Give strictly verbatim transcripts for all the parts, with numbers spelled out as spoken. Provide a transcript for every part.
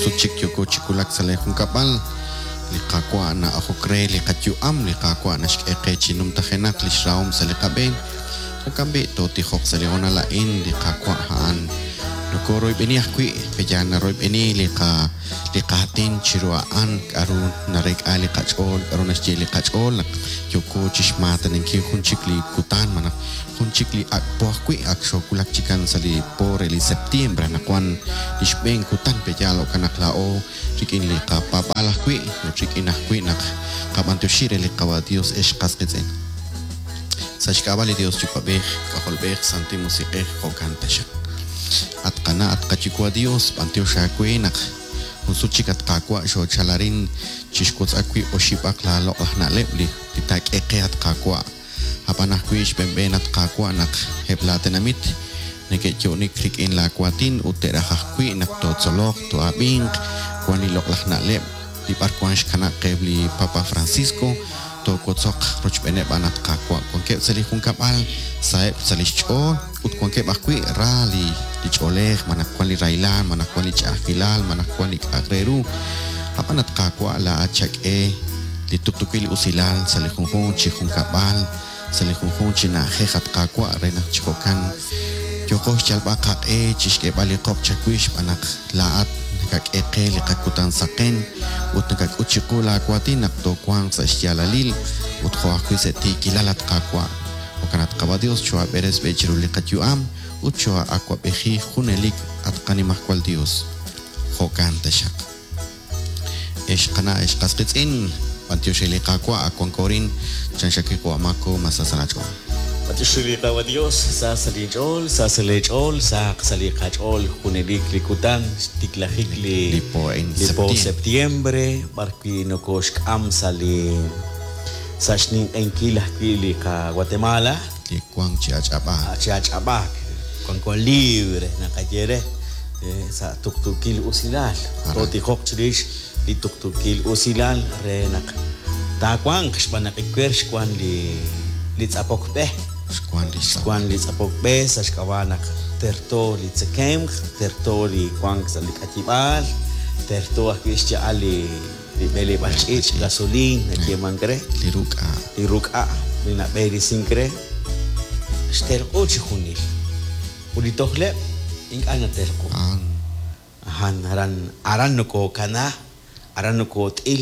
Sut chik yooko chi wulak sa' lee junkab'al, li Qaawa' na'ajok re li qayu'am, li Qaawa' naxk'e qe chi numtajenaq lix rahom sa' li qab'een. Jo'kan b'i' tootijoq sa' li hoonal a'in, li Qaawa' a'an nokoroyb'eni ajwi', pe'yaal naroyb'eni li qa li qaatin chiru a'an, k'a'ru nareek'a li qach'ool, k'a'ru naxye li qach'ool naq yooko chixmaataninkil jun chik li kutan malaj jun chik li ak' po ajwi', ak xoowulak chikan sa' li po re li septiembre, anaqwan li xb'een kutan pe'yaal jo'kan naq laa'o rik'in li qapaab'aal ajwi' ut rik'in ajwi' naq qab'antioxi re li Qawa' Dios ex qas qiitz'in. Sa' xk'ab'a' li Dios Yuwa'b'ej, K'ajolb'ej, Santil Musiq'ej, jo'kan taxaq. At qana', at qayuwa' Dios, b'antiox aawe naq jun sut chik at Qaawa' xoochal arin chixwotz'ak wi' oxib'aq laaloq'laj na'leb' li li taak'e qe at Qaawa'. Ab'an ajwi' xb'eenb'een at Qaawa' naq eb' laatenamit neke'yo'nik rik'in laawaatin ut te'raj ajwi' naq tootzoloq, too'ab'inq, wan li loq'laj na'leb' li b'arwan xkanab' qe li Papa Francisco, toowotzoq rochb'eeneb' a'an at Qaawa'. Wankeb' sa' li junkab'al, saheb' sa' lix ch'ool ut wankeb' ajwi' ra li li ch'oolej, malaj wan li rahilal, malaj wan li ch'a'ajkilal, malaj wan li k'a'aq re ru. Ab'an at Qaawa' laa'at xak'e li tuqtuukil usilal sa' li junjunq chi junkab'al, sa' li junjunq chi na'ajej at Qaawa' re naq chi jo'kan yooqo xyalb'al qaq'e chixk'eeb'al li qoq chawix xb'aan naq laa'at nakak'e qe li qakutan saqen ut nakak'ut chiqu laawaatin naq toowanq sa' xyaalalil ut jo' ajwi' sa' tiikilal at Qaawa'. Jo'kan at Qawa' Dios choo'ab'eres b'e chiru li qayu'am ut choo'awab'eji junelik at qanimajwal Dios. Jo'kan taxaq. Ex qana' ex qas qiitz'in, b'antiox li Qaawa' ak wanko rin, chan xakiqo amako masasalach'ool. B'antiox li Qawa' Dios, sa sa' li ch'ool, sa sa' li ch'ool, saq sa' li qach'ool junelik li kutan, xtiklajik li Li po en li po septiembre. septiembre, b'arwi' nokoxk'am sa' li sa' xninq'enkil ajwi' li qa Guatemala, Li wank chi ach'ab'aak. chi ach'ab'aak, wanko libre naqaye re, eh, sa' tuqtuukil usilal. Aran. Tootijoq chirix li tuqtuukil usilal re naq taawanq xb'aan naq iwer xwan li li tz'apok b'e. Xwan li Xwan li tz'apok b'e sa' xk'ab'a' naq terto li tzekemq, terto li wank sa' li k'ayib'aal, terto ajwi' xya'al li li b'eleb'aal ch'iich', gasoliin nayeemank re, Li ruk'a. li ruk'a' li nab'eeresink re, xtelq'u chi junil. Ut li tojleb' ink'a' natelq'u. An Ajan, aran, aran nokokana, aran nokot'il,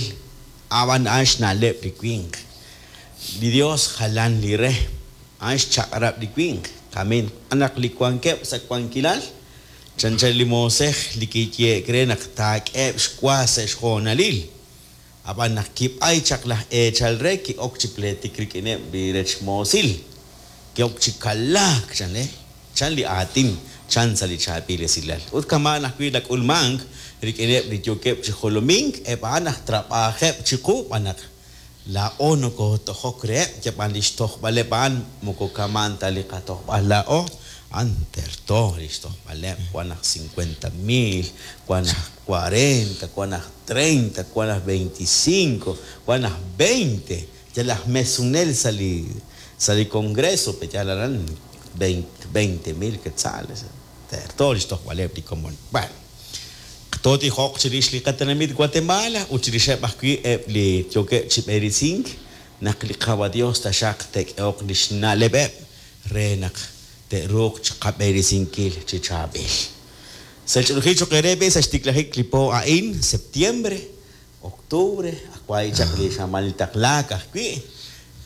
ab'an a'an xna'leb' li winq. Li Dios jalan li re, a'an xchaq'rab' li winq. Kamin, naq li wankeb' sa' wankilal, chanchan li moosej li kiyeek re naq taak'eeb' xwa sa' xjoonalil. Ab'an naq kib'ay chaq laj eechal re ki'ok chi pleetik rik'ineb' li rech moosil. Ki'ok chi kalaak, chan le, chan li aatin, chan sa' li chaab'il esilal. Ut kama'an ajwi' nak'ulmank rik'ineb' li yookeb' chi jolomink, eb' a'an aj trab'ajeb' chiqu b'an naq laa'o nokotojok reheb', yab'an li xtojb'aleb' a'an moko kama'an ta li qatojb'al laa'o, a'an terto li xtojb'aleb', wan aj cincuenta mil, wan aj cuarenta, wan aj treinta, wan aj veinticinco, wan aj veinte. Yal aj mesunel sa' li sa' li congreso, pe yal aran veinte mil quetzales. Terto li xtojb'aleb' li komon. Bueno, tootijoq chirix li qatenamit Guatemala ut chirixeb' ajwi' eb' li yookeb' chi b'eresink naq li Qawa' Dios taxaq te'k'ehoq li xna'leb'eb' re naq te'ruuq chiqab'eresinkil chi chaab'il. Sa' xch'oolajil choq' eere b'e sa' xtiklajik li po a'in, septiembre, octubre, ajwa'i chaq li xamal taqlaak ajwi',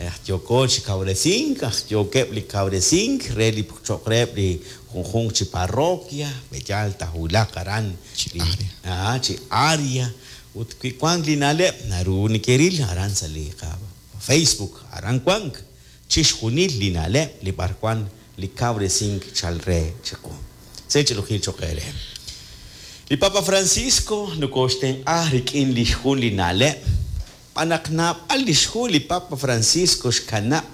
aj yooko chi kawresink, aj yookeb' li kawresink re li choq' reheb' li junjunq chi parroquia, b'eyal tajulaq aran Chi li área. Ah, chi área. Ut wi wank li na'leb' naru nekeril aran sa' li qa Facebook, aran wank chixjunil li na'leb' li b'arwan li kawresink chal re chiqu. Se ch'ilujil choq' eere. Li Papa Francisco nokoxtenq'a rik'in li xjun li na'leb'. B'an naq naab'al li xhu li Papa Francisco xkanab'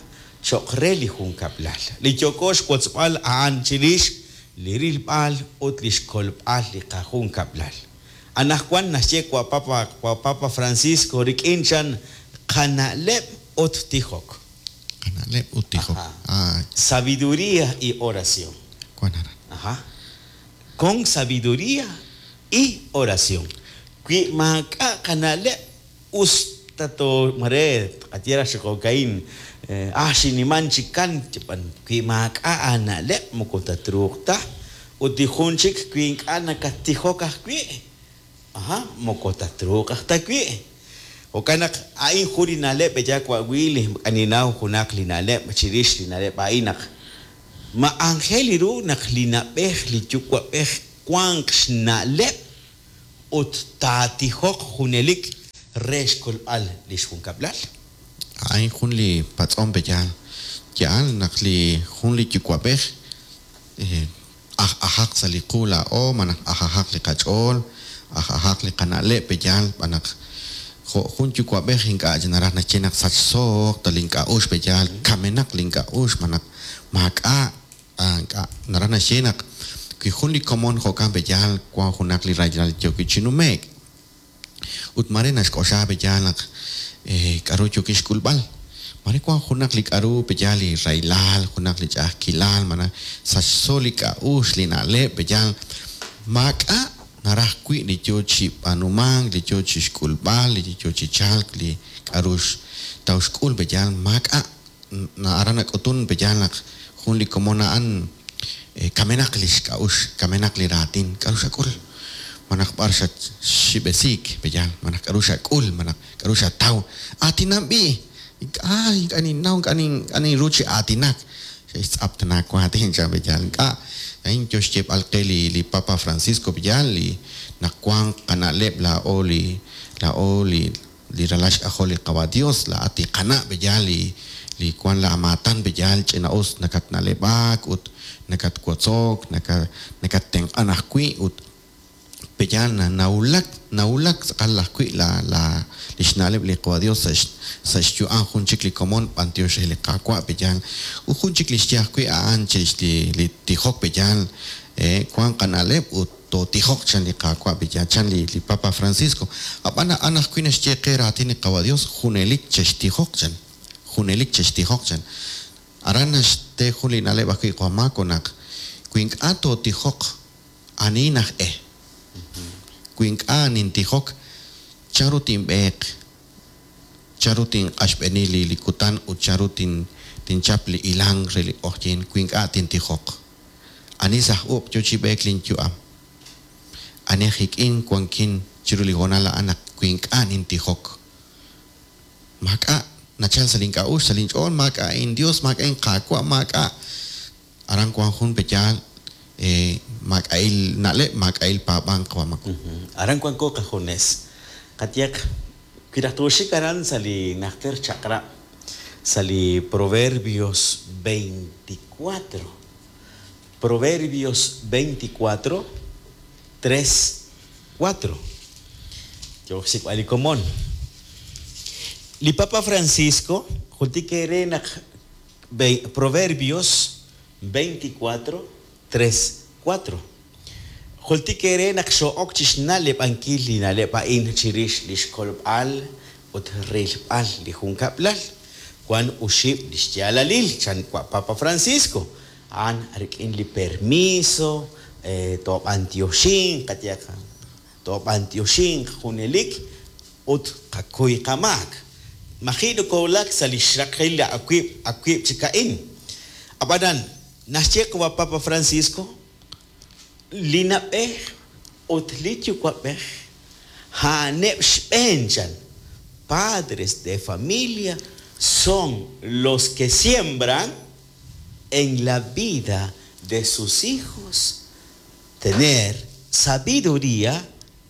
choq' re li junkab'lal. Li yooko xwotzb'al a'an chirix li rilb'al ut li xkolb'al li qajunkab'lal. Anaqwan naxye wa Papa, wa Papa Francisco rik'in chan qana'leb' ut tijok. Qana'leb' ut tijok. Ajá. Ah, Sabiduría y oración. wan aran. Ajá. Con sabiduría y oración. Wi maak'a' qana'leb' us ta to mare tqaye raj chi jo'ka'in ah xiniman chikan b'an wi maak'a' aana'leb' moko tatruuq ta ut li jun chik wi ink'a' nakattijok ajwi' aja moko tatruuq aj ta wi'. Jo'kan naq a'in jun li na'leb' eya wa'wi li k'aninaw junaq li na'leb' chirix li na'leb' a'in naq ma aajel ru naq li na'b'ej li yuwa'b'ej wanq xna'leb' ut taatijoq junelik re xkolb'al li xjunkab'lal. A'in jun li patz'om peyaal yaal naq li jun li yuwa'b'ej aj ajaq sa' li qu laa'o malaj aj ajaq li qach'ool aj ajaq li qana'leb' peyaal b'an naq jo' jun yuwa'b'ej ink'a' naraj naxye naq sachsooq ta link'a'ux peyaal kamenaq link'a'ux malaj maak'a' ink'a' naraj naxye naq wi jun li komon jo'kan peyaal wan junaq li rahilal yooki chi nume'k ut mare naxk'oxla peyaal naq k'aru yookin xk'ulb'al mare wan junaq li k'aru peyaal li rahilal junaq li ch'a'ajkilal malaj sachso li k'a'ux li na'leb' peyaal maak'a' naraj wi' li yoo chi b'aanumank li yoo chi xk'ulb'al li yoo chi chalk li k'aru taw xk'ul peyaal maak'a' aran nak'utun peyaal naq jun li komon a'an kamenaq li xk'a'ux kamenaq li raatin k'aru xak'ul malaj b'ar xatxib'esiik peyaal malaj k'aru xak'ul malaj k'aru xataw aatinan b'i' ink'a' ink'a' ninnaw ink'a' ninru chi aatinak xe'xtz'aptana waatin chan peyaal ink'a' a'in yo xyeeb'al qe li li Papa Francisco peyaal li naq wanq qana'leb' laa'o li laa'o li li ralal xk'ajol li Qawa' Dios laa'at li qana' peyaal li li wan la maatan peyaal ch'ina'us nakatna'leb'ak ut nakatwotzok nakattenq'an ajwi' ut peyaal nawulak nawulak tz'aqal ajwi' la la li xna'leb' li Qawa' Dios sa' sa' xyu'am jun chik li komon b'antiox re li Qaawa' peyaal ut jun chik li xye ajwi' a'an chirix li li tijok peyaal wan qana'leb' ut tootijoq chan li Qaawa' peyaal chan li li Papa Francisco ab'an a'an ajwi' naxye qe raatin li Qawa' Dios junelik chextijoq chan junelik chextijoq chan aran naxte jun li na'leb' ajwi' Juan Marco naq wi ink'a' tootijoq ani naj e wi ink'a' nintijok chanru tinb'eeq chanru tinq'axb'eni li li kutan ut chanru tin tinchap li ilang re li q'oqyink wi ink'a' tintijoq ani saj uq' yo chi b'eek linyu'am ani jik'in wankin chiru li hoonal a'an naq wi ink'a' nintijok maak'a' nachal sa' link'a'ux sa' linch'ool maak'a' in Dios maak'a' inqaawa' maak'a' aran wan jun peyaal maak'a'il na'leb' maak'a'il paab'ank Juan Marco. Aran wanko qajunes qatyaq wi raj tooxik aran sa' li najter chaq'rab' sa' li Proverbios veinticuatro Proverbios veinticuatro tres cuatro yook xsik'b'al li komon li Papa Francisco jultik ere naq Proverbios veinticuatro tres cuatro jultik ere naq xo'ok chi xna'leb'ankil li na'leb' a'in chirix li xkolb'al ut rilb'al li junkab'lal wan uxib' li xyaalalil chan wa Papa Francisco a'an rik'in li permiso toob'antioxinq qatyaq toob'antioxinq junelik ut qakuy qamaak maji' nokowulak sa' li xraqil awib' awib' chik a'in ab'anan naxye wa Papa Francisco li na'b'ej ut li yuwa'b'ej a'aneb' xb'een chan padres de familia son los que siembran en la vida de sus hijos tener sabiduría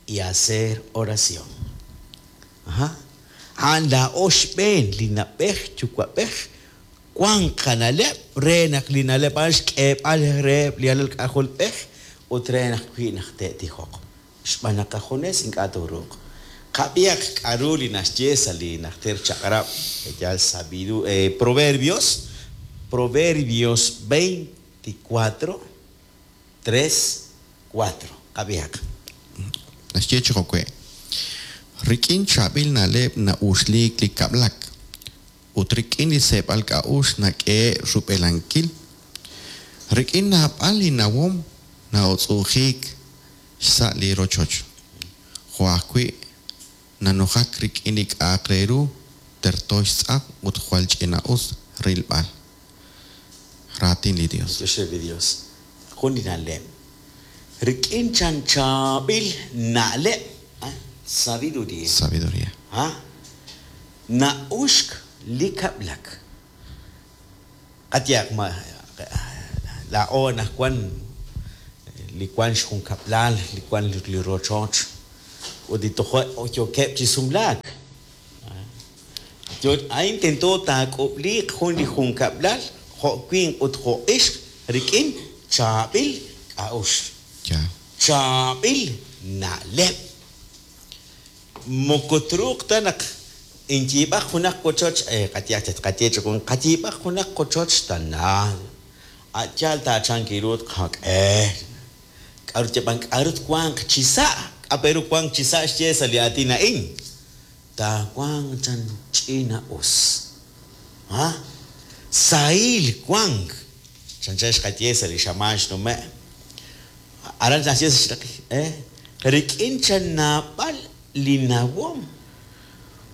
y hacer oración. Ajá. A'an laa'o xb'een li na'b'ej yuwa'b'ej wan qana'leb' re naq li na'leb' a'an xk'eeb'al reheb' li alal k'ajolb'ej ut re naq wi' naq te'tijoq xb'aan naq qajunes ink'a' tooruuq qab'ihaq k'aru li naxye sa' li najter chaq'rab' yaal sabidu Proverbios Proverbios veinticuatro tres cuatro qab'ihaq naxye chi jo'we' rik'in chaab'il na'leb' na'uxliik li kab'lak ut rik'in li seeb'al k'a'ux nak'e rub'elankil rik'in naab'al li nawom na'utz'uujiik xsa' li rochoch Jo' ajwi' nanujak rik'in li k'a'aq re ru terto xtz'aq ut jwal ch'ina'us rilb'al. Raatin li Dios. B'antiox re li Dios. Jun li na'leb'. Rik'in chan chaab'il na'leb', ah, sabiduría. Sabiduría. Ah, na'uxk li kab'lak. Qayehaq ma laa'o anaqwan li wan xjunkab'lal, li wan li rochoch, ut li toja' yookeb' chi sumlaak. Yo a'in tento taak'ub'liiq jun li junkab'lal jo' winq ut jo' ixq rik'in chaab'il k'a'uxl. Yaal. Chaab'il na'leb'. Moko truuq ta naq inyiib'aq junaq wochoch, eh, qayehaq qaye chi jun, qayiib'aq junaq qochoch tana. A' yaal taachank iru tqak'e. K'a'ru yab'an k'a'ru twanq chi sa', k'a' pe ru wanq chi sa' xye sa' li aatin a'in. Taawanq chan ch'ina us. Ha? Sahil wank. Chanchan xqaye sa' li xamaan xnume'. Aran naxye sa' xraqik, eh? Rik'in chan naab'al li nawom.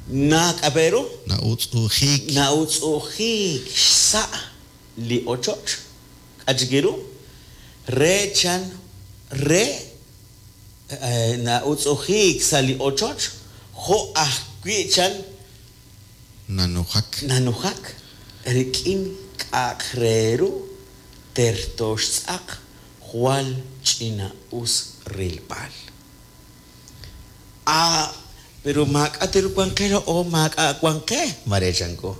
Na k'a' pe ru? Na'utz'ujiik. Na'utz'ujiik xsa' li ochoch. K'a' chik iru? Re chan re, eh, na'utz'ujiik sa' li ochoch jo' ajwi' chan Nanujak. Nanujak rik'in k'a'aq re ru terto xtz'aq jwal ch'ina'us rilb'al. Ah, pero maak'a' teru wan qe o maak'a' wan qe, mare chanko.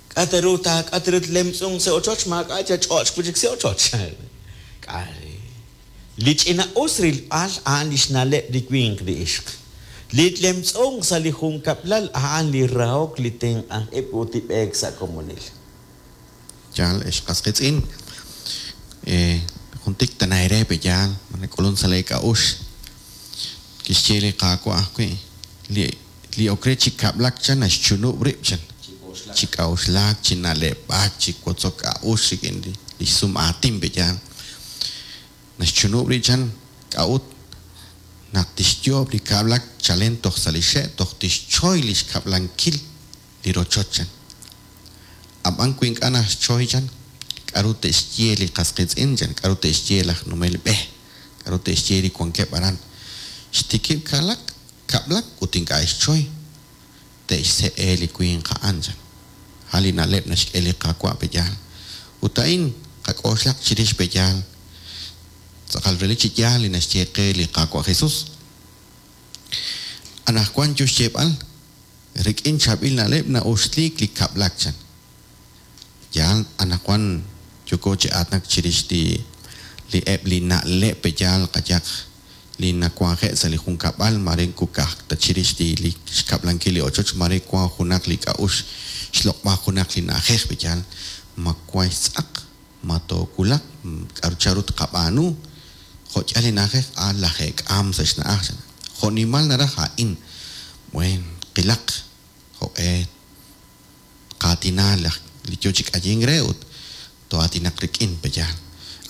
K'a' teru ta k'a' teru tlemtz'un sa' ochoch, maak'a' cha ch'och' wi' chik sa' ochoch. K'a' li ch'ina'us rilb'al a'an li xna'leb' li winq li ixq. Li tlemtz'un sa' li junkab'lal a'an li rahok li tenq'ank ib' ut li b'eek sa' komonil. Yaal, ex qas qiitz'in. Eh, jun tik tanaire pe yaal, manak'ulun sa' le k'a'ux. Kixye li Qaawa' ajwi', li, li ok re chi kab'lak chan naxchunub' rib' chan. Chi k'a'uxlaak, chi na'leb'aak, chi wotzok k'a'ux rik'in li, li xsum aatin pe yaal. Naxchunub' rib' chan k'a'ut naq tixyoob' li kab'lak chalen toj sa' li xe' toj tixchoy li xkab'lankil li rochoch chan. Ab'an wi ink'a' naxchoy chan, k'a'ru te'xye li qas qiitz'in chan, k'a'ru te'xye laj numel b'e, k'a'ru te'xye li wankeb' aran. Xtikib' kalak, kab'lak ut ink'a' xchoy, te'xse'e li winq a'an chan. Ha li na'leb' naxk'e li Qaawa' pe yaal. Ut a'in qak'oxlaq chirix pe yaal. Tz'aqal relik chi yaal li naxye qe li Qaawa' Jesus. Anaqwan yo xyeeb'al rik'in chaab'il na'leb' na'uxliik li kab'lak chan. Yaal, anaqwan yoko chi aatinak chirix li, li eb' li na'leb' pe yaal qayaq li nawanje' sa' li junkab'al, mare kukaj ta chirix li, li xkab'lankil li ochoch, mare wan junaq li k'a'ux xloq'b'al junaq li na'ajej pe yaal, ma wan xtz'aq, ma toowulaq, k'a'ru charu tqab'aanu, jo' yaal li na'ajej, a lajeek'aam sa' xna'aj chan. Jo' nimal naraj a'in, buen, qilaq, jo'q'e qaatina laj li yo chi k'ayink re ut to'aatinaq rik'in pe yaal.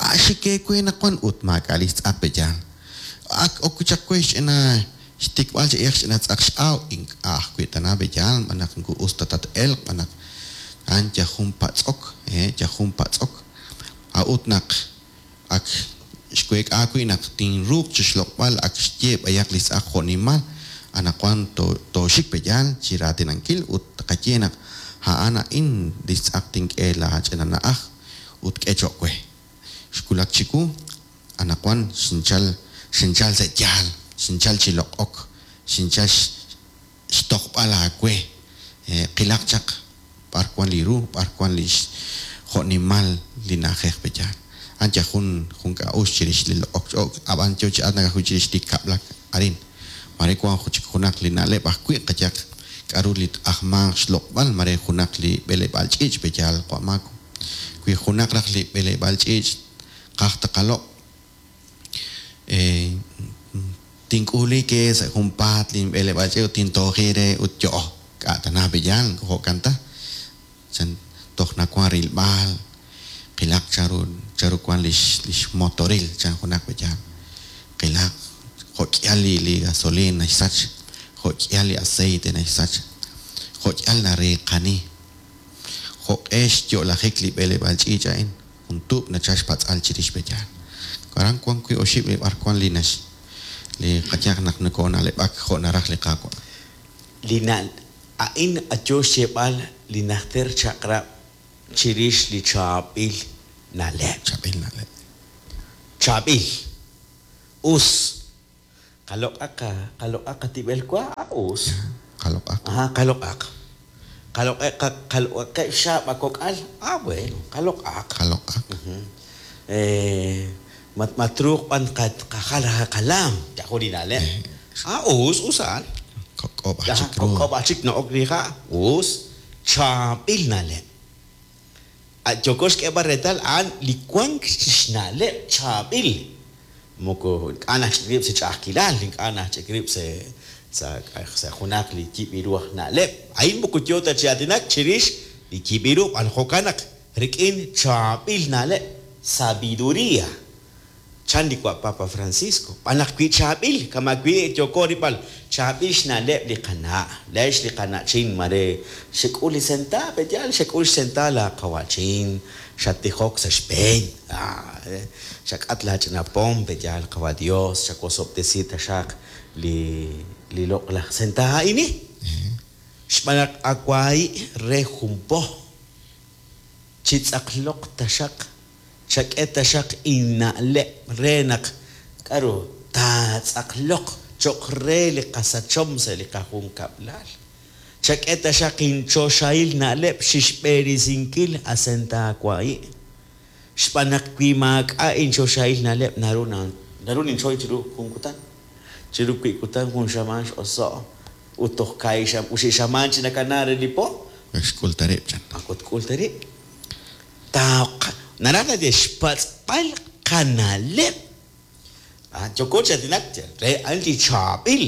A xik ewe naq wan ut maak'a' li xtz'aq pe yaal. Ak ok chaq we xch'ina xtikb'al chi iyaj xch'ina tz'aq x'aw, ink'a' ajwi' tana pe yaal, b'anaq nku us ta tat-elq, b'anaq a'an yal jun patz'ok, eh, yal jun patz'ok. A'ut naq ak xweek'a wi' naq tinruuq chi xloq'b'al ak xye b'ayaq li tz'aq jo' nimal, anaqwan to-, tooxik pe yaal chi raatinankil ut tqaye naq a'an a'in li xtz'aq tink'e la ch'ina na'aj ut k'e cho'q we. Xwulak chiwu, anaqwan xinchal, xinchal sa' yaal, xinchal chi loq'ok, xinchal x-, xtojb'al aawe. Eh, qilaq chaq b'ar wan li ru, b'ar wan li x-, jo' nimal li na'ajej pe yaal. A'an yal jun, jun k'a'ux chirix li loq'ok ch'oq, ab'an yo chi aatinak ajwi' chirix li kab'lak arin. Mare wan jun chik junaq li na'leb' ajwi' qayaq k'a'ru li ajmanq xloq'b'al, mare junaq li b'eleb'aal ch'iich' pe yaal q'amaako. Wi junaq raj li b'eleb'aal ch'iich' qaj taqaloq', eh, tink'uli ke sa' junpaat lin b'eleb'aal ch'iich' ut tintooji re ut yo'o. K'a' tana pe yaal, jo'kan ta. Chan toj nawan rilb'al, qilaq charu, charu wan lix, lix motoril chan junaq pe yaal. Qilaq Jo'k'ihal li li gasolina naxsach, jo'k'ihal li aceite naxsach, jo'k'ihal nariiqani. Jo'q'e xyo'lajik li b'eleb'aal ch'iich' a'in, jun tuub' nachal xpatz'al chirix pe'yaal. Aran wan wi' oxib' li b'ar wan li nax li qayehaq naq nokoona'leb'ak jo' naraj li Qaawa'. Li na'l a'in yo xyeeb'al li najter chaq'rab' chirix li chaab'il na'leb'. Chaab'il na'leb'. Chaab'il. Us. Qaloq'aq qaloq'aq qatib'el wa, us. Qaloq'aq. Ajá, qaloq'aq. Qaloq'e qaloq'aqeb' xaab' akok'al, ah bueno, qaloq'aq. Qaloq'aq. Eh, mat matruuq b'an qajal qalaam, yajun li na'leb'. Ah, us, us a'an. Kok'ob' aj chik ru. Kok'ob' aj chik na'ok li ha', us, chaab'il na'leb'. Yooko xk'eeb'al reetal a'an li wank xna'leb' chaab'il. Moko ink'a' naxch'ik rib' sa' ch'a'ajkilal, ink'a' naxch'ik rib' sa' sa' sa' junaq li yib' ru aj na'leb'. A'in moko yo ta chi aatinak chirix li yib' ru, b'an jo'kan naq rik'in chaab'il na'leb', sabiduría. Chan li wa Papa Francisco. B'an naq wi chaab'il, kama wi yooko rib'al, chaab'il xna'leb' li qana', lex li qana'chin mare xek'ul li senta, pe'yaal xek'ul xsenta la qawa'chin, xatijok sa' xb'een, ah, xak'at la ch'ina pom, pe'yaal qawa Dios, xawosob'tesi taxaq li li loq'laj senta a'ini. Xb'aan naq awahi' re jun po, chitz'aqloq taxaq, chak'e taxaq inna'leb' re naq k'aru taatz'aqloq cho'q re li qasachom sa' li qajunkab'lal. Chak'e taxaq inchoxahil na'leb' xixb'erisinkil asenta awahi'. Xb'aan naq wi maak'a' inchoxahil na'leb' naru na naru ninchoy chiru jun kutan. Chiru wi' kutan jun xamaan x'oso' ut toj ka'i xam uxi xamaan chinakana re li po. Xk'ul ta rib' chan. Akut k'ul ta rib'. Taaq naraj naye xpatz'b'al qana'leb'. Ah, yooko chi aatinak re a'an li chaab'il.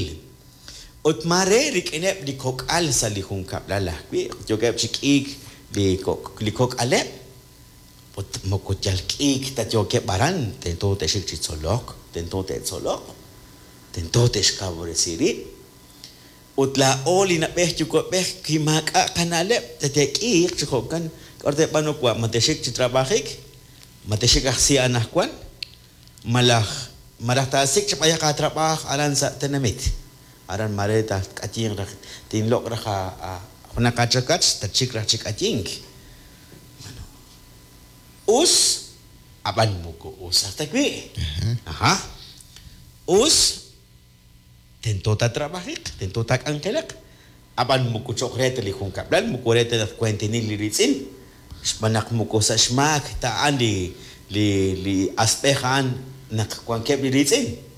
Ut mare rik'ineb' li kok'al sa' li junkab'lal ajwi', yookeb' chi k'iik li kok' li kok'aleb'. Ut moko yal k'iik ta yookeb' aran, tento te'xik chi tzolok, tento te'tzoloq, tento te'xkawresi rib'. Ut laa'o li na'b'ej yuwa'b'ej wi maak'a' qana'leb' te'k'iiq chi jo'kan, k'aru te'b'aanu wa, ma te'xik chi trabajik, ma te'xik aj si anajwan, malaj malaj taasik' chi b'ayaq aatrab'aaj aran sa' tenamit. Aran mare taak'ayinq raj tinloq' raj a junaq aachakach tatxik raj chi k'ayink. Bueno, us, ab'an moko us aj ta wi'. Ajá. Us, tento taatrabajiq, tento taak'anjelaq. Ab'an moko cho'q re ta li junkab'lal, moko re ta naq kuentinil li riitz'in. Xb'aan naq moko sa' xmaak ta a'an li li li asb'ej a'an naq wankeb' li riitz'in.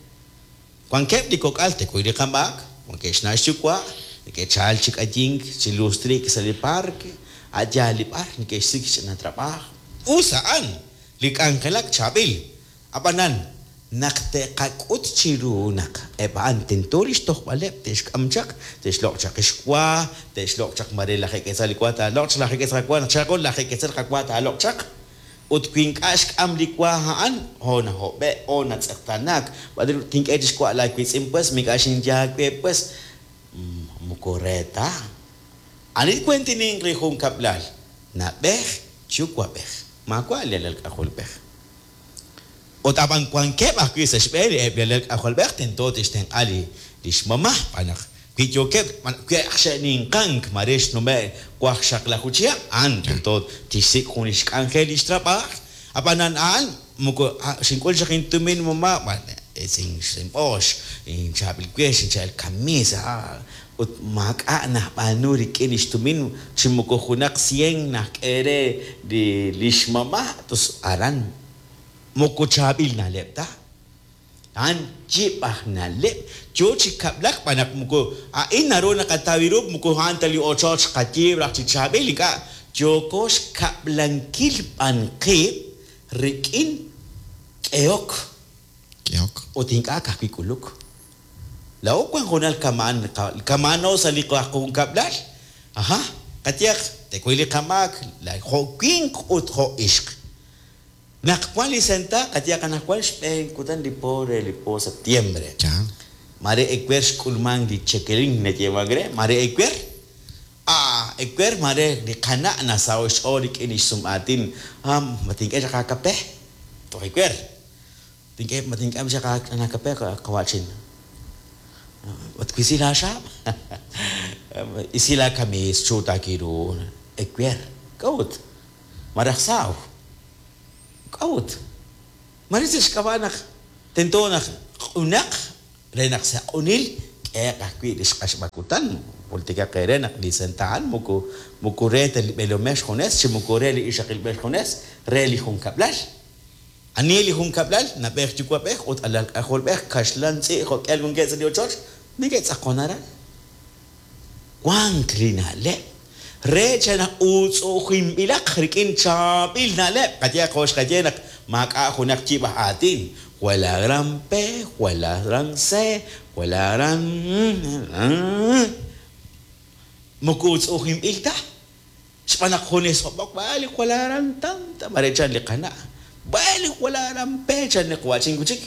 Wankeb' li kok'al tekuy li qamaak, wankeb' xna' xyuwa', neke'chal chi k'ayink, chi lustrik sa' li parque, a' yaal li b'ar neke'xsik' xch'ina trab'aaj. Us a'an, li k'anjelak chaab'il. Ab'anan, naq te'qak'ut chiru naq eb' a'an tento li xtojb'aleb' te'xk'am chaq, te'xloq' chaq xwa, te'xloq' chaq mare lajeeb' ketzal li wa taaloq' chaq, lajeeb' ketzal qawa, naq chaqo lajeeb' ketzal qawa taaloq' chaq. Ut wi ink'a' xk'am li wa a'an, ho nahob'e', ho natz'eqtanak, b'an tink'e chi xwa' laawiitz'in pues, mink'a' xinye aawe pues, moko re ta. Ani kuentininq li junkab'lal, na'b'ej yuwa'b'ej, maawa' li alal k'ajolb'ej. Ut ab'an wankeb' ajwi' sa' xb'een eb' li alal k'ajolb'ej tento te'xtenq'a li li xmama', b'an naq wi yookeb' wi aj xe'ninqank mare xnume' waqxaqlaju chihab', a'an tento tixsik' jun li xk'anjel li xtrab'aaj. Ab'anan a'an moko xink'ul chaq intumin mama', b'an sin xinb'oox, inchaab'il wex, inchaab'il camisa, ut maak'a' najb'aanu rik'in li xtumin chi moko junaq cien najk'e re li li xmama', tos aran moko chaab'il na'leb' ta. A'an yib' aj na'leb' yo chi kab'lak b'an naq moko a'in naru naqataw ru moko a'an ta li ochoch qayiib' raj chi chaab'il, ink'a' yooko xkab'lankil b'an qib' rik'in k'ehok. K'ehok. Ut ink'a' ka'ajwi' k'uluk. Laa'o wan junal kama'an kama'ano sa' li qajunkab'lal. Ajá, qayehaq tekuy li qamaak, jo' winq ut jo' ixq. Naq wan li senta, qayehaq anaqwan xb'een kutan li po re li po septiembre. Ya. Mare ewer xk'ulmank li chekelin nayeemank re, mare ewer. Ah, ewer mare li qana' nasaho' xch'ool rik'in li xsum'aatin. Ah, ma tink'e chaq aakape? Toj ewer. Tink'e, ma tink'am chaq aakape qawa'chin. Ma twisi laaxaab'? Isi laakamiis chuutakiru. Ewer. K'a'ut? Maraj saaw. K'a'ut? Mare sa' xk'ab'a' naq tento naq q'unaq re naq sa' q'unil k'ehaq ajwi' li xq'axb'al kutan. Jultikaq eere naq li senta'an moko moko re ta li b'eelomej xjunes chi moko re li ixaqilb'ej xjunes, re li junkab'lal. Ani li junkab'lal? Na'b'ej yuwa'b'ej ut alal k'ajolb'ej kaxlan tz'i' jo'k'ihal wankeb' sa' li ochoch neke'tz'aqon aran. Wank li na'leb' re chanaq uutz'u'ujinb'ilaq rik'in chaab'il na'leb'. Qayehaq jo' xqaye naq maak'a' junaq yib' aj aatin. Jwal la gran P, jwal la gran C, jwal la gran moko uutz'u'ujinb'il ta. Xb'aan naq junes hob'ok, vale, jwal la gran tanta, mare chan li qana'. Vale, jwal la gran P, chan li qawa'chin wi' chik.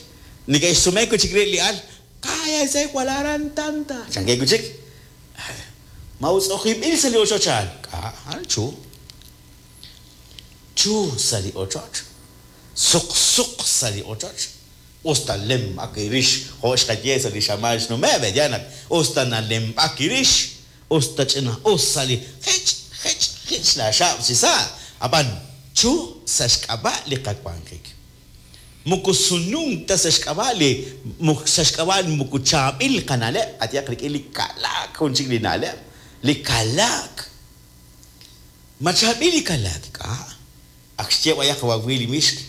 Neke'xsume wi' chik rib' li al, cállese, jwal la gran tanta. Chankeb' wi' chik. Ma uutz'u'ujinb'il sa' li ochoch a'an? K'a, a'an chu. Chu sa' li ochoch. Suq suq sa' li ochoch. Usta lemb'ak irix, jo' xqaye sa' li xamaan xnume', ya naq usta nalemb'ak irix, usta ch'ina us sa' li jich, jich, jich laaxaab' chi sa'. Ab'an chu sa' xk'ab'a' li qawanjik. Moko sununk ta sa' xk'ab'a' li sa' xk'ab'a' moko chaab'il qana'leb', qayehaq rik'in li kalaak jun chik li na'leb'. Li kalaak. Ma chaab'il li kalaak, k'a'. Ak xye b'ayaq wawi li mixk.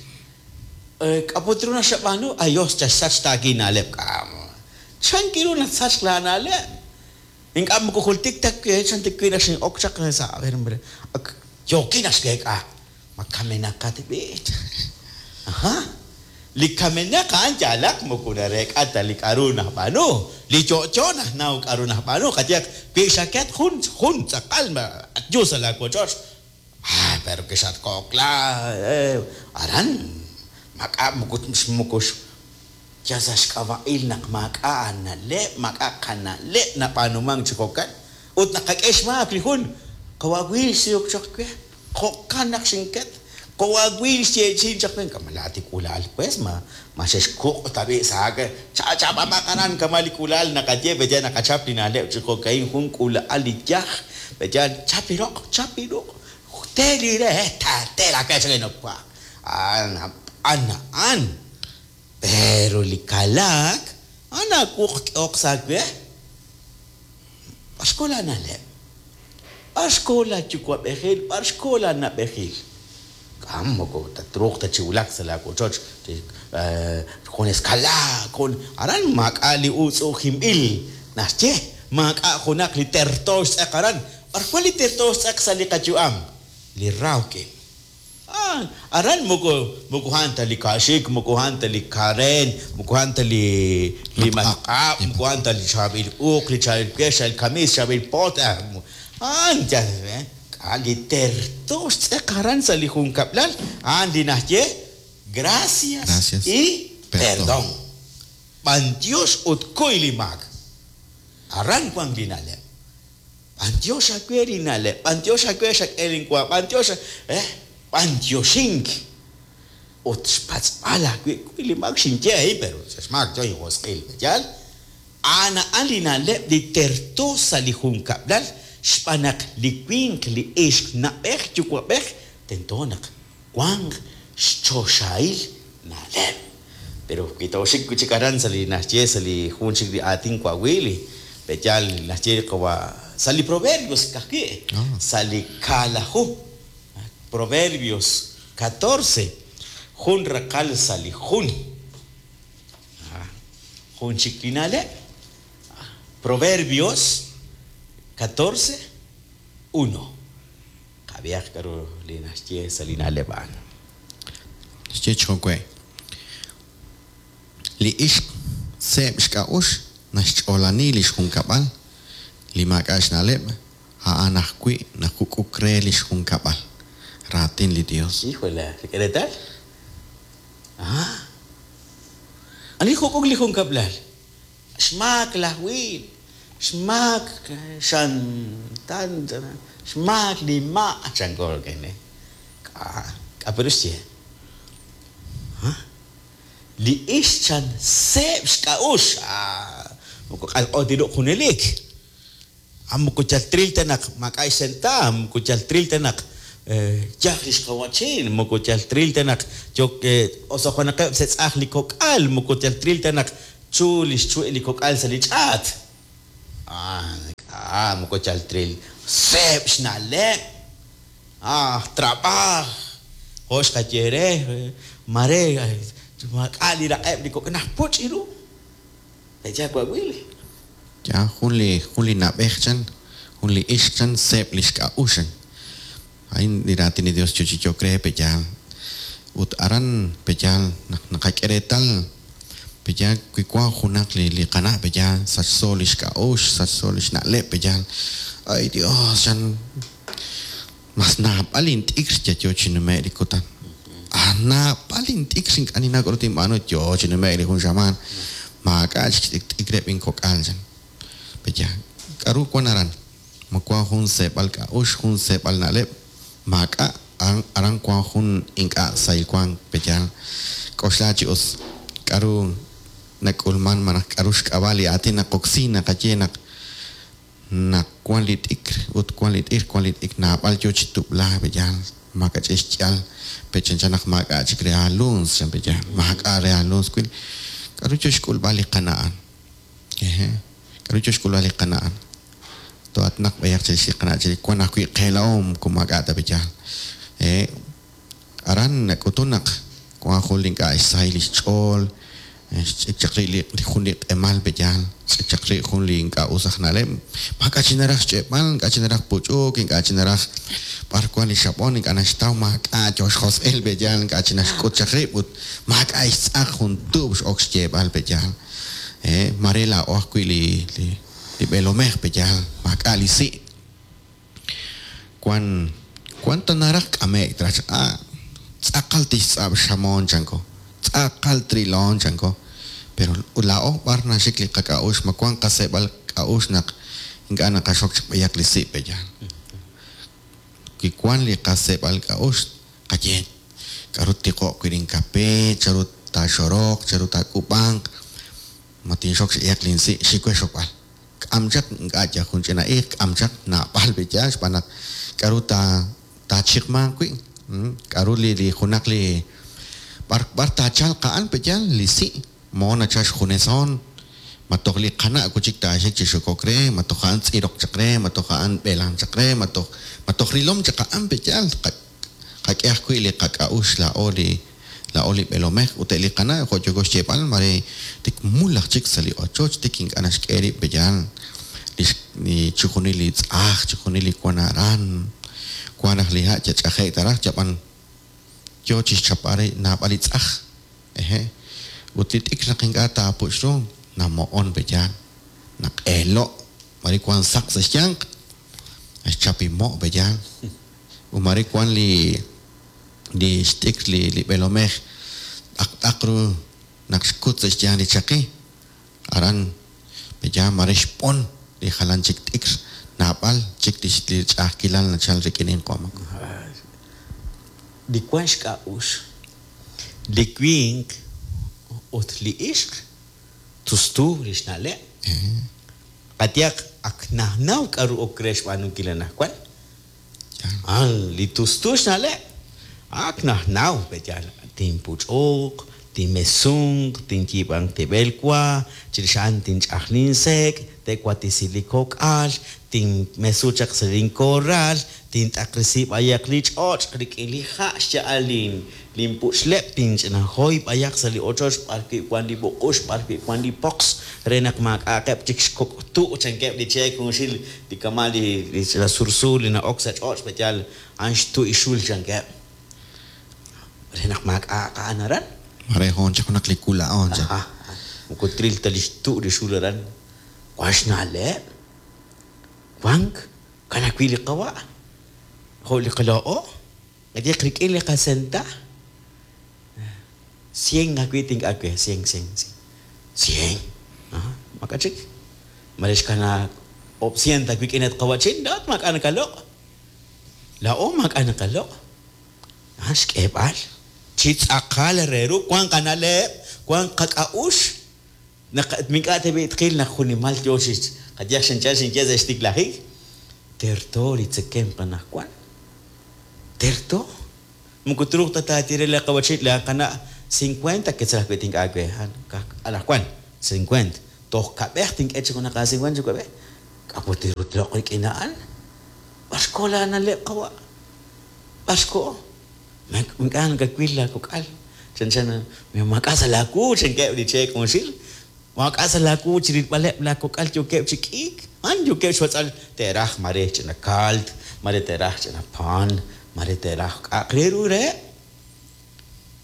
K'aput ru naxab'aanu, ayos chaxsach taaki na'leb', k'a'. Chan kiru nasach la na'leb'. Ink'a' moko jultik ta chan tikwi naq xin'ok chaq sa' a ver, hombre. Ak yookin naxweek'a. Ma kamenaqat b'i'. Ajá. Li kamenaq a'an yaalaq moko nareek'a ta li k'a'ru najb'aanu. Li yo'yo najnaw k'a'ru najb'aanu. Qayehaq wi xaket jun jun tz'aqal yu sa' laawochoch. Ah, pero que xatko'kla eh, aran maak'a' moko moko ya sa' xk'ab'a'il naq maak'a' na'leb', maak'a' qana'leb' nab'aanumank chi jo'kan. Ut naqak'e xmaak li jun qawawil xsiyok chaq we. Jo'kan naq xinket. Qawawil xyeechin chaq we. Kama laati k'ulaal pues ma ma xexkuq' tab'i' sa' cha'cha'b'amaq aran kama li k'ulaal naqaye peya naqachap li na'leb' chi jo'ka'in jun k'ulaal li yaj peya chap li roq, chap li ruq', te li re, ta te la we chak nokwa. An an an. Pero li kalaak, ana wuq k'eoq sa' we. B'ar xko la na'leb'? B'ar xko la yuwa'b'ejil? B'ar xko la na'b'ejil? K'am moko tatruuq ta chi wulak sa' laawochoch junes kalaak, jun aran maak'a' li uutz'u'ujinb'il naxye, maak'a' junaq li terto xtz'aq aran. B'ar wan li terto xtz'aq sa' li qayu'am? Li rawk'in. Ah, aran moko moko a'an ta li kaaxik, moko a'an ta li karen, moko a'an ta li li matq'ab', moko a'an ta li chaab'il uuq, li chaab'il wex, chaab'il kamiis, chaab'il pot. A'an yal, eh, k'a' li terto xtz'aq aran sa' li junkab'lal, a'an li naxye gracias, Gracias y perdón. perdón. B'antiox ut kuy li maak. Aran wan li na'leb'. B'antiox aawe li na'leb', b'antiox aawe xak'e linwa, b'antiox, eh, b'antioxink. Ut xpatz'b'al ajwi' kuy li maak xinye ahí, pero sa' xmaak yo injosq'il, yal. A'an a'an li na'leb' li terto sa' li junkab'lal, xb'aan naq li winq, li ixq, na'b'ej, yuwa'b'ej, tento naq wanq xchoxahil na'leb'. Pero wi tooxik wi' chik aran sa' li naxye sa' li jun chik li aatin wawili, pe'yaal naxye qawa' sa' li Proverbios kajwi', Ah. sa' li kaalaju. Proverbios catorce, jun raqal sa' li jun. Ah, jun chik li na'leb'. Proverbios catorce, uno. Qab'ihaq k'aru li naxye sa' li na'leb' a'an. Xye chi jo'we. Li ixq seeb' xk'a'uxl naxch'oolani li xjunkab'al, li maak'a' xna'leb', a'an ajwi' najuk'uk re li xjunkab'al. Raatin li Dios. Híjole, ¿qué tal? Ah. Ani juk'uk li junkab'lal? Xmaak laj Wil, xmaak xan tan, xmaak li ma', chanko kene. K'a, k'a pero xye. Ha? Li ix chan seeb' xk'a'ux. Ah, moko q'alq'o tiru junelik. Ah, moko yal tril ta naq maak'a' xsenta, moko yal tril ta naq yaj li xqawachin, moko yal tril ta naq yok osoqonaqeb' setz'aj li kok'al, moko yal tril ta naq chu li xchu'i li kok'al sa' li ch'aat. Ah, ah, moko yal tril seeb' xna'leb'. Ah, trabaj. Jo' xqaye re, mare maak'a' li raq'eb' li kok'al naq puch' iru. Echa wawil. Ya, jun li jun li na'b'ej chan, jun li ixq chan seeb' li xk'a'ux chan. A'in li raatin li Dios chochichok re peyal. Ut aran peyal naq naqak'e reetal peyal wi wan junaq li li qana' peyal sachso li xk'a'ux, sachso li xna'leb' peyal. Ay Dios chan mas naab'al int'ikr yayo chi nume' li kutan. Ah, naab'al int'ikr ink'a' ninnaw k'a'ru tinb'aanu yo chi nume' li jun xamaan. Maak'a' chik t'ikreb' inkok'al chan. Peyal k'a'ru wan aran? Ma wan jun seeb'al k'a'ux, jun seeb'al na'leb', maak'a' aran wan jun ink'a' sahil wan peyal. K'oxla chi us k'a'ru nak'ulman malaj k'a'ru xk'ab'a' li aatin naqoksi naqaye naq naq wan li t'ikr ut wan li t'ikr, wan li t'ikr naab'al yo chi tub'la peyal. Maak'a' xyal pechanchan naq maak'a' chik re aaluns chan peyal. Maak'a' re aaluns wil k'a'ru yo xk'ulb'al li qana'an. Eje. K'a'ru yo xk'ulb'al li qana'an. To'atnaq b'ayaq chirix li qana' chirix wan ajwi' qeela'om kun maak'a' ta peyal. Eh, aran nak'utun naq wan jun li ink'a' xsahil li xch'ool, xch'ik chaq ri' li jun li q'emal peyal, xch'ik chaq ri' jun li ink'a' us aj na'leb'. Maak'a' chi naraj xch'e'b'al, ink'a' chi naraj puch'uk, ink'a' chi naraj b'ar wan li xab'on, ink'a' naxtaw maak'a' yo xjosq'il peyal, ink'a' chi naxk'ut chaq rib' ut maak'a' xtz'aq jun tuub' x'ok xyeeb'al peyal. Eh, mare laa'o ajwi' li li li b'eelomej peyal, maak'a' li si'. Wan wan ta naraj k'ame'k traj ah, tz'aqal tixtz'ab' xamoon chanko, tz'aqal trilon chanko. Pero laa'o b'ar naxik li qak'a'ux, ma wan qaseeb'al k'a'ux naq ink'a' naqaxok chaq b'ayaq li si' peyal. Wi wan li qaseeb'al k'a'ux, qaye k'a'ru tiqo'q wi' rinkape, charu taaxoroq, charu taak'ub'anq, ma tinxok x'ayaq linsi' xikwe xokb'al. K'am chaq ink'a' yal jun ch'ina iiq, k'am chaq naab'al peyal xb'aan naq k'a'ru ta taachiqmanq wi', k'a'ru li li junaq li b'ar b'ar taachalq a'an peyal li si' mo nachal xjuneson, ma toj li qana' kuchik taaxik chi xokok re, ma toj a'an tz'iroq chaq re, ma toj a'an b'eelan chaq re, ma toj ma toj rilom chaq a'an peyal. Qak'e ajwi' li qak'a'ux laa'o li laa'o li b'eelomej ut li qana' jo' yoko xyeeb'al mare tik mul aj chik sa' li ochoch tik ink'a' naxk'e rib' peyal. Li li chijunil li tz'aj, chijunil li wan aran, wan raj li ha' chach'aje' taraj chab'an yo chixchapb'al re naab'al li tz'aj. Eje. Ut li t'ikr naq ink'a' taapuch' ru namo'on peyal, naq'eelo' mare wan saq sa' xyanq, xchapimo' peyal. U mare wan li li xt'ikr li li b'eelomej t'aq ru naq xkut sa' xyanq li chaqi, aran peyal mare xb'on li jalan chik t'ikr naab'al chik li li ch'a'ajkilal nachal rik'in inq'omak. Li wan xk'a'ux, li winq ut li ixq tustu li xna'leb'. Qatiyaq ak najnaw k'a'ru ok re xb'aanunkil anaqwan. Ah, li tustu xna'leb'. Ak najnaw peyal tinpuch'uq, tinmesunq, tinyiib'anq tib'el wa, chirix a'an tinch'aj linsek', te'watisi li kok'al, tinmesu chaq sa' linkorral, tint'aqresi b'ayaq li ch'och' rik'in li ha' xya'al lin linpuch'leb', tinch'inajoy b'ayaq sa' li ochoch b'ar wi' wan li b'uq'ux, b'ar wi' wan li poqs, re naq maak'a'aqeb' chik xkok' tu' chankeb' li cheek junxil li kama' li li ch'ina sursuur li na'ok sa' ch'och' peyal a'an xtu' ixul chankeb'. Re naq maak'a'aq a'an aran. Mare hoon chaq junaq li kula'on chaq. Aha. Moko tril ta li xtu' li xul aran. Wan xna'leb'. Wank kan ajwi' li qawa'. Jo' li qala'o. Qatiq rik'in li qasenta. Cien ajwi' tink'awe, cien, cien, cien. Cien. Aha. Maak'a' chik. Mare xkanaak oob' sient aawik'in at qawa'chin, laa'at maak'a' nakaloq'. Laa'o maak'a' naqaloq'. A'an xk'eeb'al chi tz'aqal re ru wank qana'leb', wank qak'a'uxl. Naq ink'a' tab'i' tqil naq junimal yo chi qayehaq xinchal xinye sa' xtiklajik, terto li tzekemq anaqwan. Terto. Moko truuq ta taaye re la qawa'chin la qana' cincuenta quetzal ajwi' tink'e aawe. Anaqwan cincuenta. Toj kab'ej tink'e chi junaq a cincuenta chi kab'ej. K'a' put ru tloq' rik'in a'an. B'ar xko laana'leb' qawa'. B'ar xko. Ink'a' nakawil laakok'al. Chanchan maak'a' sa' laawu chankeb' li cheek junxil. Maak'a' sa' laawu chi rilb'aleb' laakok'al yookeb' chi k'iik. A'an yookeb' xpatz'al te'raj mare ch'ina kalt, mare te'raj ch'ina pan, mare te'raj k'a'aq re ru reheb'.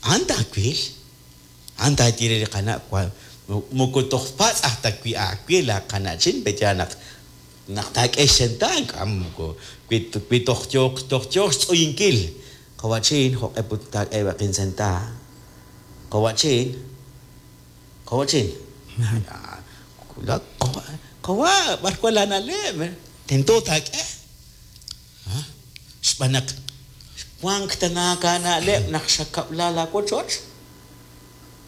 A'an taawil. A'an taaye re li qana' moko toj patz' aj ta wi' aawe laaqana'chin pe'yaal naq naq taak'e xsenta' k'a moko wi wi toj yooq toj yooq xtz'uyinkil. Qawa'chin jo'q'e put taak'e qinsenta. Qawa'chin. Qawa'chin. Qawa' b'ar wan laana'leb'. Tento taak'e. Xb'aan naq wank tanaak aana'leb' naq xakab'la laawochoch.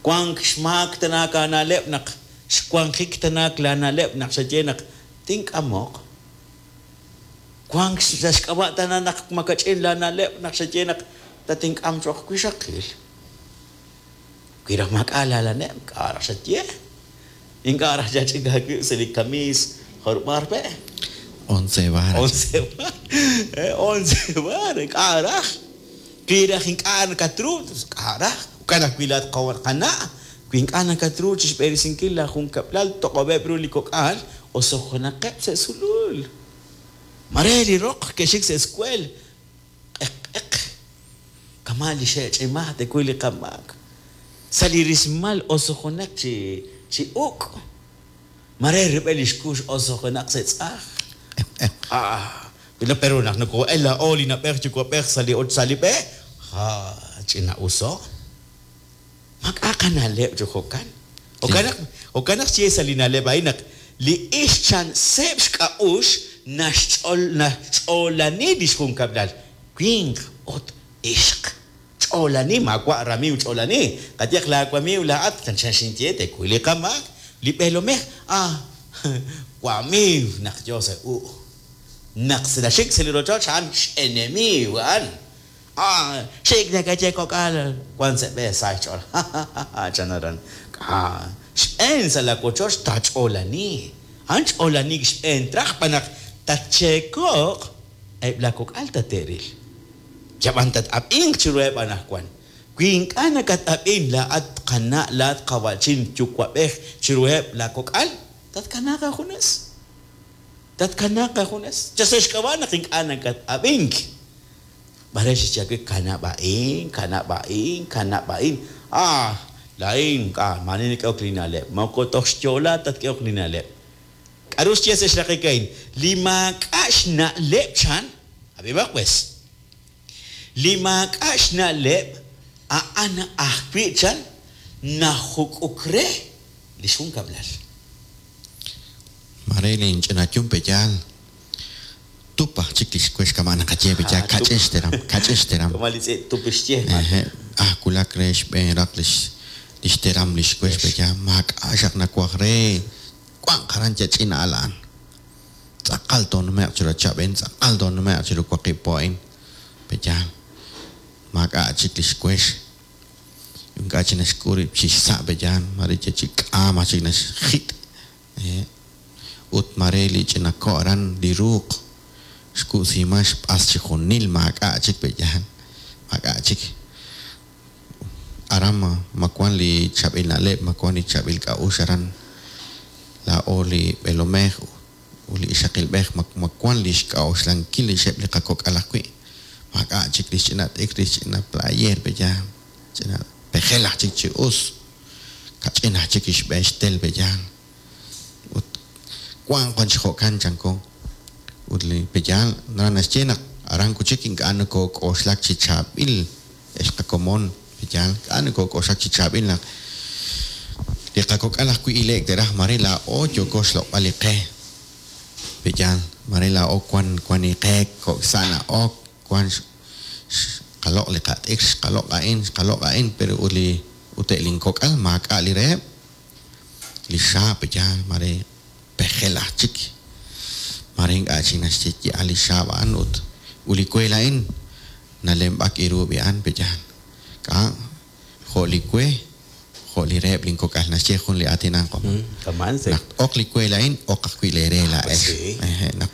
Wank xmaak tanaak aana'leb' naq xwanjik tanaak laana'leb' naq xaye naq tink'amoq. Wank sa' xk'ab'a' tana naq makach'in laana'leb' naq xaye naq tatink'am cho'q wixaqil. Wi raj maak'a' laalaneb' k'a' raj xaye. Ink'a' raj xach'ik aawib' sa' li kamiis jorb'ar pe'. Once bar. Once bar. Once bar. K'a' raj. Wi raj ink'a' nakatru, k'a' raj. Jo'kan ajwi' laat qana'. Wi ink'a' nakatru chi xb'eresinkil laajunkab'lal toq'ob'eb' ru li kok'al osojonaqeb' sa' sulul. Mare li roq ke'xik sa' escuel. Q'eq q'eq. Kama' li xe'ch'imaj tekuy li qamaak. Sa' li rismal osojonaq chi chi uk'. Mare rub'el li xkux osojonaq sa' tz'aj. Ah, pero naq noko'el laa'o li na'b'ej yuwa'b'ej sa' li sa' li b'e, ja ch'ina'uso. Maak'a' qana'leb' chi jo'kan. Jo'kan naq jo'kan naq xye sa' li na'leb' a'in naq li ix chan seeb' xk'a'uxl naxch'ol naxch'oolani li xjunkab'lal. Winq ut ixq. Ch'oolani maawa' ramiiw ch'oolani. Qayehaq laawamiiw laa'at chanchan xinye tekuy li qamaak. Li b'eelomej ah wamiiw naq yo sa' u'. Naq naxik sa' li rochoch a'an x'enemiiw a'an. Ah, xik nakaye kok'al wan sa' b'e sa' xch'ool. Chan aran. Ah, xb'een sa' laawochoch taach'oolani. A'an ch'oolaniik xb'een traj b'an naq tatcheeko'q eb' laakok'al tate'ril. Yab'an tat-ab'inq chiruheb' anaqwan. Wi ink'a' nakat-ab'in laa'at qana' laa'at qawa'chin yuwa'b'ej chiruheb' laakok'al, tatkanaaq aajunes. Tatkanaaq aajunes. Yal sa' xk'ab'a' naq ink'a' nakat-ab'ink. Mare xye aawe kanab' a'in, kanab' a'in, kanab' a'in. Ah, laa'in k'a maani nak'ehok li na'leb'. Moko toj xyo'la tatk'ehok li na'leb'. K'aru xye sa' xraqik a'in? Li maak'a' xna'leb' chan, ab'imaq pues. Li maak'a' xna'leb' a'an ajwi' chan najuk'uk re li xjunkab'lal. Mare linch'ina yum pe'yaal tup aj chik li xwex kama' naqaye pe'yaal Ah, kach'in xteram, kach'in xteram. Kama' li tz'i' tup xye. Eje, ah wulak re xb'een raq li li xteram li xwex pe'yaal maak'a' xaq nawaj re wanq aran yach'ina al a'an. Tz'aqal toonume'q chiru chab'en, tz'aqal toonume'q chiru waqib' po a'in pe'yaal maak'a' chik li xwex. Ink'a' chik naxk'ul rib' chi xsa' pe'yaal mare ya chi k'aam aj chik naxjit'. Eje, ut mare li ch'ina ko' aran li ruuq xku'siman xb'as chi junil maak'a' chik pe'yaal maak'a' chik. Aran ma ma wan li chaab'il na'leb', ma wan li chaab'il k'a'uxl aran laa'o li b'eelomej ut li ixaqilb'ej ma ma wan li xk'a'uxlankil li xeb' li qakok'al ajwi'. Maak'a' chik li xch'ina t'ikr, li xch'ina player pe'yaal, ch'ina pejel aj chik chi us, kach'in aj chik xb'een xtel pe'yaal. Ut wank wan chi jo'kan chanko. Ut li pe'yaal naraj naxye naq aran kuchik ink'a' nokok'oxlak chi chaab'il ex qakomon pe'yaal, ink'a' nokok'oxlak chi chaab'il naq Li qakok'al ajwi' ile'k te'raj, mare laa'o yooko xloq'b'al li qe. Pe'yaal, mare laa'o wan wan li qe kok' sa' na'ok, wan xqaloq' li qat'ikr, xqaloq' a'in, xqaloq' a'in, pero ut li ut eb' linkok'al maak'a' li reheb'. Li xaab', pe'yaal, mare pejel aj chik. Mare ink'a' chik naxye yaal li xaab' a'an ut ut li we laa'in nalemb'ak iru b'i'an, pe'yaal. K'a' jo' li we, jo' li reheb' linkok'al naxye jun li aatin Kama'an se Naq oq li we laa'in, oq ajwi' leere laa'ex. sí. Eje, naq